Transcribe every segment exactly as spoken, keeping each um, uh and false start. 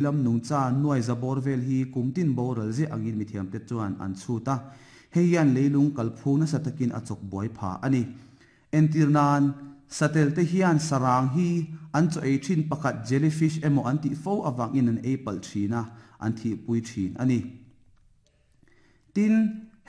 Lam nungcha nuai za bawr vel hi kum tin boral ziah angin mithiamte chuan an chhut a, hei hian leilung kalphung nasa takin a chawk buai pha a ni. Entir nan, satel te hian sarang hi an chaw ei thin pakhat jellyfish emaw an tih fo avangin an ei palh thin a, an thihpui thin a ni. Tin,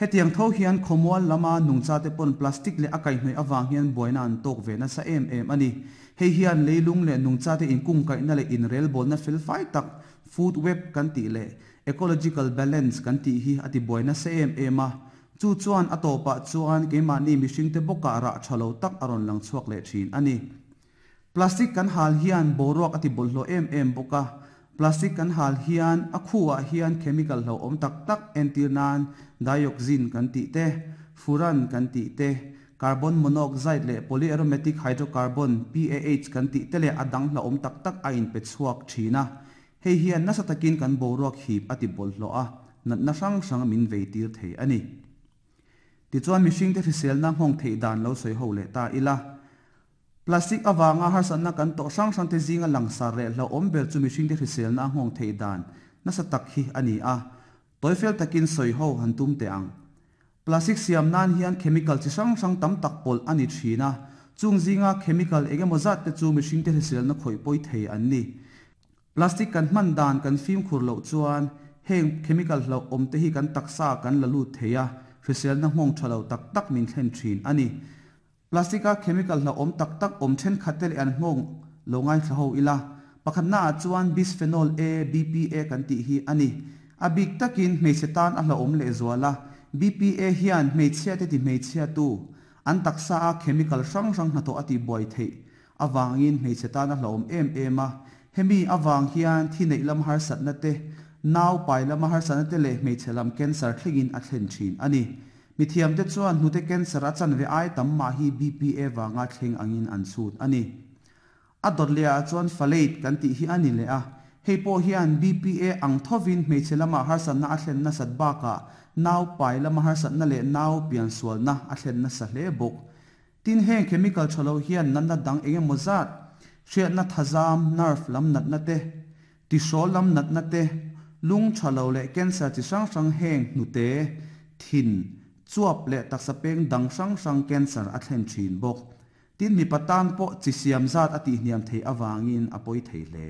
hetiang tho hian khawmual lama nungcha te pawn plastic leh a kaihhnawih avang hian buaina an tawk ve nasa em em a ni. Hei hian leilung leh nungcha te inkungkaihna leh inrelbawlna felfai tak, food web kan tih leh ecological balance kan tih hi a ti buai nasa em em a. Chu chuan a tawpah chuan keimahni mihringte bawkah rah tha lo tak a rawn lang chhuak leh thin a ni. Plastic kan hal hian boruak a ti bawlhhlawh em em bawk a. Plastic kan hal hian a khuah hian chemical hlauhawm tak tak entir nan dioxin kan tih te, furan kan tih te, carbon monoxide leh polyaromatic hydrocarbon, P A H, kan tih te leh a dang hlauhawm tak tak a inpe chhuak thin a. Hei hian nasa takin kan boruak hip a ti bawlhhlawh a, natna hrang hrang min vei tir thei a ni. Tichuan mihringte hriselna nghawng theih dan lo sawi ho leh ta ila. Plastic avanga harsatna kan tawh hrang hrang te zinga langsar leh hlauhawm ber chu mihringte hriselna nghawng theih dan nasa tak hi a ni a. Tawifel takin sawi ho han tum teh ang. Plastic siam nan hian chemical chi hrang hrang tam tak pawlh a ni thin a. Chung zinga chemical engemaw zat te chu mihringte hriselna khawih pawi thei an ni. Plastic kan hman dan kan fimkhur loh chuan heng chemical hlauhawm te hi kan taksa kan la lut thei a, hriselna nghawng tha lo tak tak min thlen thin a ni. Plastic a chemical hlauhawm tak tak awm thenkhat te leh an nghawng lo ngaithla ho ila. Pakhatnaah chuan bisphenol A, B P A kan tih hi a ni. A bik takin hmeichhe tan a hlauhawm lehzual a. B P A hian hmeichhia te ti hmeichhia tu an taksa a chemical hrang hrang hnathawh a tihbuai theih avangin hmeichhe tan a hlauhawm em em a. Hemi avang hian thi neih lam harsatna te, nau pai lama harsatna te leh hmeichhe lam cancer thlengin a thlen thin a ni. Mithiamte chuan hnute cancer a chanve ai tam mah hi B P A vanga thleng angin an chhut a ni. A dawt lehah chuan phthalate kan tih hi a ni leh a. Hei pawh hian B P A ang thovin hmeichhe lama harsatna a thlen nasat bakah nau pai lama harsatna leh nau piansualna a thlen nasa hle bawk. Tin, heng chemical tha lo hian natna dang engemaw zat, hriatna thazam, nerve lam natna te, tihrawl lam natna te, lung tha lo leh cancer chi hrang hrang heng hnute, thin, chuap leh taksa peng dang hrang hrang cancer a thlen thin bawk. Tin, mipa tan pawh chi siam zat a tihhniam thei avangin a pawi thei hle.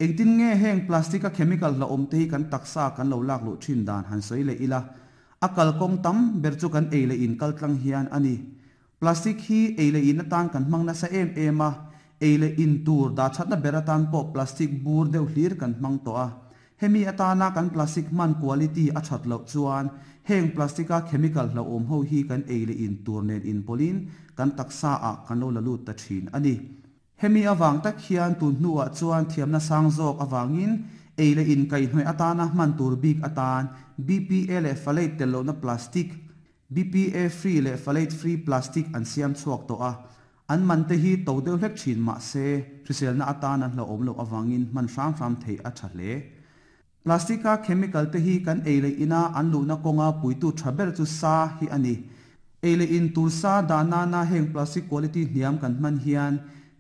Engtin nge heng plastic a chemical hlauhawm te hi kan taksa kan lo lak luh thin dan han sawi leh ila. A kalkawng tam ber chu kan ei leh in kal tlang hian a ni. Plastic hi ei leh in atan kan hmang nasa em em a. Ei leh in tur dah thatna ber atan pawh plastic bur deuh hlir kan hmang tawh a. Hemi atana kan plastic hman quality a that loh chuan heng plastic a chemical hlauhawm ho hi kan ei leh in tur nen inpawlin kan taksa ah kan lo la lut ta thin a ni. Hemi awang tak hian tun hnuah chuan thiamna sang zawk awangin ei leh in kaihhnawih atana hman tur bik atan B P A leh phthalate tel lohna plastic, B P A free leh phthalate free plastic an siam chhuak tawh a. An man te hi to deuh hlek thin mah se hriselna atan an hlauhawm loh awangin hman hram hram thei a tha hle. Plastic a chemical te hi kan ei leh ina an luhna kawnga puitu tha ber chu sa hi a ni. Ei leh in tur sa dahna na heng plastic quality hniam kan hman hian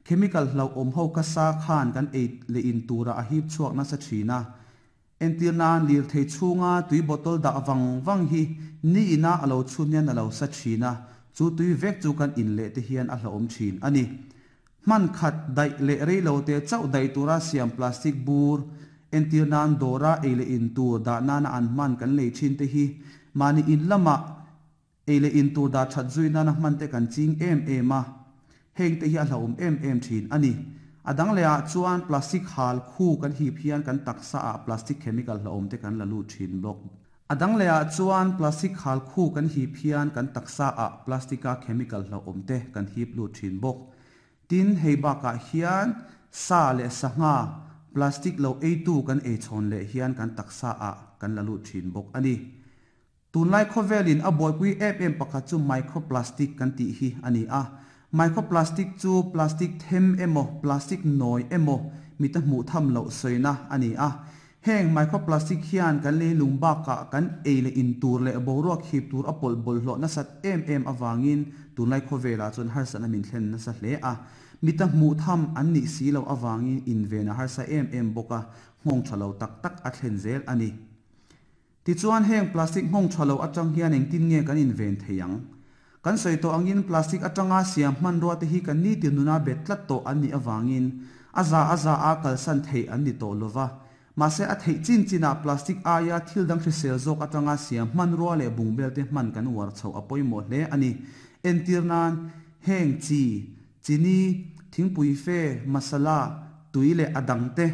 chemical hlauhawm ho ka sa khan kan ei leh in tura a hip chhuak nasa thin a. Entir nan lir thei chhunga tui bottle dah wang wang hi ni ina a lo chhun hian a lo sa thin a. Chu tui vek chu kan in leh te hian a hlauhawm thin a ni. Hman khat daih leh rei lo te chauh daih tura siam plastic bur entir nan dawra ei leh in tur dah nana an hman kan lei thin te hi mahni in lama ei leh in tur dah that zui nana hman te kan ching em em a. Heng te hi a hlauhawm em em thin a ni. A dang lehah chuan plastic hal khu kan hip hian kan taksa ah plastic chemical hlauhawm te kan la lut thin bawk. A dang lehah chuan plastic hal khu kan hip hian kan taksa ah plastic a chemical hlauhawm te kan hip lut thin bawk. Tin, hei bakah hian sa leh sangha plastic lo ei tu kan ei chhawn leh hian kan taksa ah kan la lut thin bawk a ni. Tunlai khawvelin a buaipui em em pakhat chu microplastic kan tih hi a ni a. Microplastic chu plastic them emaw plastic nawi emaw mita hmuh tham loh sawina a ni a. Heng microplastic hian kan leilung bakah kan ei leh in tur leh boruak hip tur a pawlh bawlhhlawh nasat em em awangin tunlai khawvelah chuan harsatna min thlen nasa hle a. Mita hmuh tham an nih si loh awangin in ven a harsa em em bawk a. Nghawng tha lo tak tak a thlen zel a ni. Tichuan heng plastic nghawng tha lo atang hian engtin nge kan inven thei ang? Kan sawi tawh angin plastic atanga siam hmanrua te hi kan nitin nuna bet tlat tawh an nih avangin a za a za a kalsan theih an ni tawh lova. Mahse a theih chin chinah plastic aia thil dang hrisel zawk atanga siam hmanrua leh bungbel te hman kan uar chhoh a pawimawh hle a ni. Entir nan heng chi, chini, thingpui fe, masala, tui leh a dang te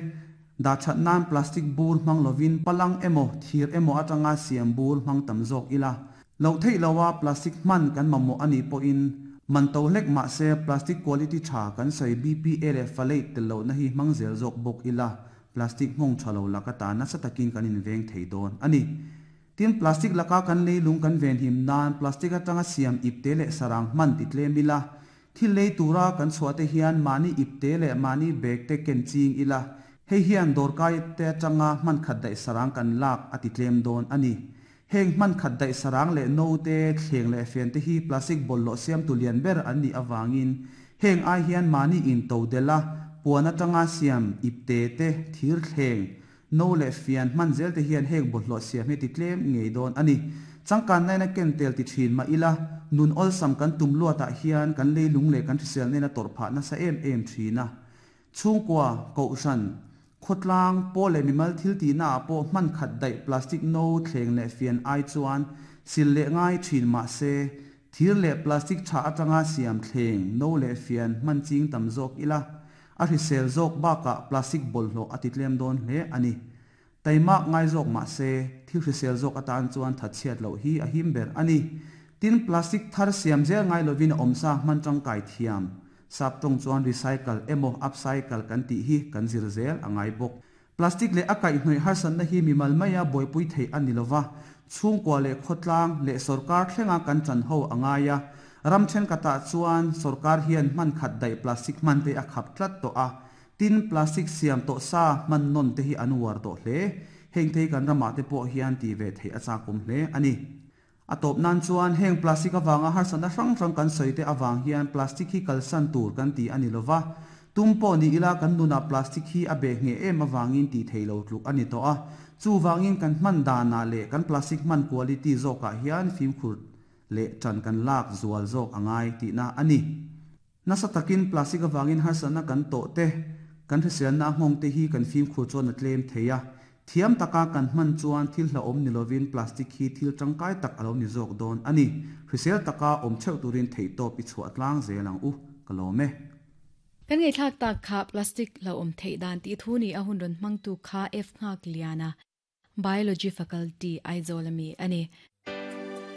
dah that nan plastic bur hmang lovin palang emaw thir emaw atanga siam bur hmang tam zawk ila. Loh theih loha plastic hman kan mamawh a nih pawhin man to hlek mahse plastic quality tha kan sawi B P A leh phthalate tel lohna hi hmang zel zawk bawk ila plastic nghawng tha lo laka ta nasa takin kan inveng thei dawn a ni. Tin plastic laka kan leilung kan ven him nan plastic atanga siam ipte leh sarang hman ti tlem ila. Thil lei tura kan chhuah te hian mahni ipte leh mahni bag te ken ching ila. Hei hian dawrkai te atanga hman khat daih sarang kan lak a ti tlem dawn a ni. Heng hman khat daih sarang leh no te thleng leh fian te hi plastic bawlhhlawh siam tu lian ber an nih awangin heng ai hian mahni in to dela puan atanga siam ipte te thir thleng no leh fian hman zel te hian heng bawlhhlawh siam hi ti tlem ngei dawn a ni. Changkan naina ken tel ti thin ma ila nun awlsam kan tum luatah hian kan leilung leh kan hrisel nena tawrh phah nasa em em thina. Chhungkua kohhran khawtlang pawl leh mimal thil tihna ah pawh hman khat daih plastic no thleng leh fian ai chuan sil leh ngai thin mahse thir leh plastic tha atanga siam thleng no leh fian hman ching tam zawk ila a hrisel zawk bakah plastic bawlhhlawh a ti tlem dawn hle a ni. Taimak ngai zawk mahse thil hrisel zawk atan chuan thatchhiat loh hi a him ber a ni. Tin plastic thar siam zel ngai lovin a awmsa hman tangkai thiam saptawng chuan recycle emaw upcycle kan tih hi kan zir zel a ngai bawk. Plastic leh a kaihhnawih harsatna hi mimal maia buaipui theih a ni lova. Chhungkua leh khawtlang leh sorkar thlenga kan chan ho a ngai a. Ram thenkhatah chuan sorkar hian hman khat daih plastic hman te a khap tlat tawh a. Tin plastic siam tawh sa hman nawn te hi an uar tawh hle. Heng thei kan ramah te pawh hian ti ve theih a chakawm hle a ni. A tawp nan chuan heng plastic awanga harsatna hrang hrang kan sawi te awang hian plastic hi kalsan tur kan ti a ni lova. Tum pawh ni ila kan nunah plastic hi a beh nge em awangin ti thei lo tluk a ni tawh a. Chuwangin kan hman danah leh kan plastic hman quality zawkah hian fimkhur leh tan kan lak zual zawk a ngai tihna a ni. Nasa takin plastic awangin harsatna kan tawh te kan hriselna nghawng te hi kan fimkhur chuan a tlem thei a. Thiam taka kan hman chuan thil hlauhawm ni lovin plastic hi thil tangkai tak a lo ni zawk dawn a ni. Hrisel taka awm theuh turin theih tawp i chhuah tlang zel ang u. Ka lawm e. Kan ngei thlak tak kha plastic hlauhawm theih dan tih thu ni a hun rawn hmang tu kha F Nghak Liana Biology Faculty Aizawl ami a ni.